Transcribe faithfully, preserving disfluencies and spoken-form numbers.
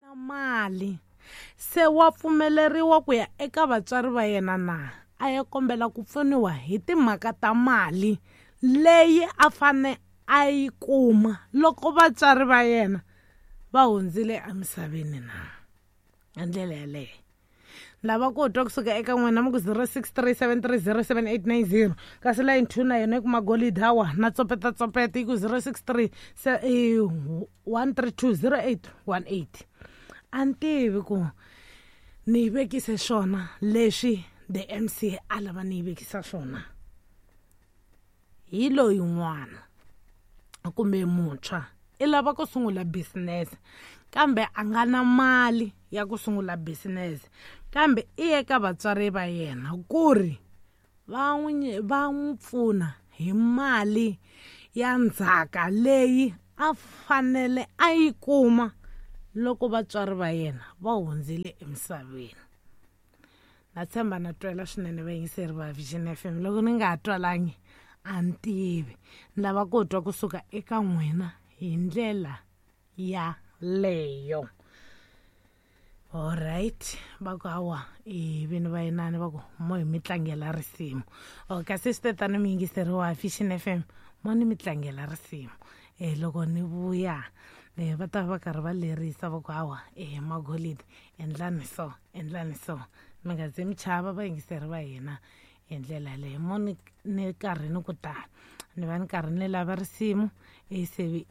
Na mali se wa pfumeleriwa ku ya eka vatswari va yena na a ya kombela ku pfuniwa hi timhaka ta mali leyi a fane a yi kuma loko vatswari va yena va hundzile emisaveni na hi ndlela yaleyo lava ku twa kusuka eka n'wina mi ku zero six three seven three zero seven eight nine zero kasi line two na yona yi ku magolidi hawa na tsopeta tsopeta yi ku zero six three one three two zero eight one eight a ni tivi ku ni yi vekise swona leswi the M C a lava ni yi vekisa swona hi loyi n'wana kumbe muntshwa i lava ku sungula business kambe a nga na mali ya ku sungula business kambe i ye ka vatswari va yena ku ri va n'wi va n'wi pfuna hi mali ya ndzhaka leyi a fanele a yi kuma loko vatswari va yena va hundzile emisaveni. Na tshemba na twela swinene vayingiseri va Vision F M. Loko ni nga ha twalangi a ni tivi ni lava ku twa kusuka eka n'wina hi ndlela ya leyo. Alright, va ku hawa i vini va yinani va ku mo hi mi tlangela risimu. O kasi swi te tani muyingiseri wa Vision F M mo ni mi tlangela risimu e loko ni vuya e va ta va karhi va lerisa va ku hawa e magolidi endlani so endlani so mi nga ze mi chava vayingiseri va hina hi ndlela yaleyo mo ni ni karhi ni ku tani ni va ni karhi ni lava risimu e se.